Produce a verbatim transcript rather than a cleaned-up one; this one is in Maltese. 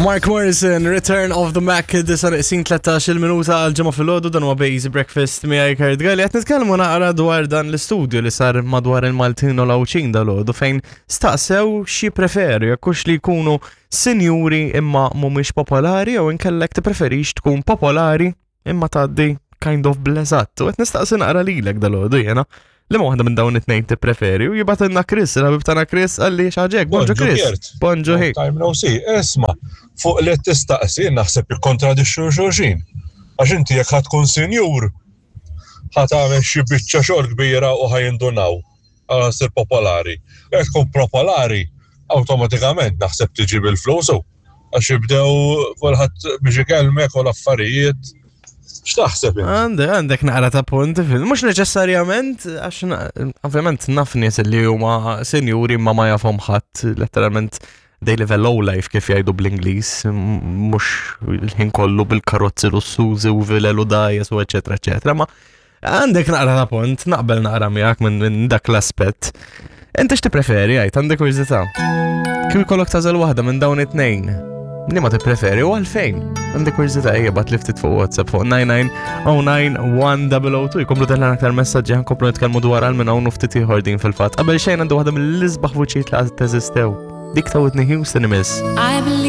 Mark Morrison, Return of the Mac, disa neqsin tlettax-il minuta għal ġimgħa filgħodu. Dan huwa Basic Breakfast miegħi Kurt Galli. Qed nitkellmu naqra dwar dan l-istudju li sar madwar il-Maltin u l-Għawdxin dalgħodu, fejn staqsew xi preferu, jekk hux li jkunu sinjuri imma mhumiex popolari jew inkellek tippreferix tkun popolari imma tgħaddi kind of bleżat. U qed nistaqsi naqra lilek dalgħodu jiena, li waħda minn dawn it-tnejn tippreferi, u jibgħatilna Chris, il-ħabib tagħna Chris, qalli xaġek. Bonġu Chris. Kurt. Bonġu hi. Time no see. Isma, fuq li tistaqsi naħseb jikkontradixxu xulxin. Għax inti jekk ħa tkun sinjur, ħa tagħmel xi biċċa xogħol kbira u ħa jindunaw. Għal sir popolari. Jekk tkun popolari, awtomatikament naħseb tiġi bil-flus u. Għax jibdew kulħadd biex ikellmek u l-affarijiet. X'taħseb inti? Għandek, għandek naqra ta' punt, fil- mhux neċessarjament, għax na- ovvjament naf nies li huma senjuri ma ma jafhom ħadd, letteralment they live a low life, kif jgħidu bl-Ingliż, m- mhux il-ħin kollu bil-karozzi lussużi u vilel u dgħajjes u eċetera eċetera, ma għandek naqra ta' punt, naqbel naqra miegħek minn minn dak l-aspett. Inti x'tippreferi, għajt, għandek kurżità? Kif ikollok tagħżel waħda minn dawn it-tnejn? Li ma tippreferi u għalfejn? Għandek kurżità, ejja ibgħatli ftit fuq WhatsApp fuq disgħa u disgħin disgħa wieħed erbgħa żero tnejn. Jkomplu telgħin aktar messaġġi, ħa nkomplu nitkellmu dwar għal minn hawn u ftit ieħor din fil-fatt. Qabel xejn għandu waħda mill-isbaħ vuċijiet li għad teżistew. Dik ta' Whitney Houston imiss. I believe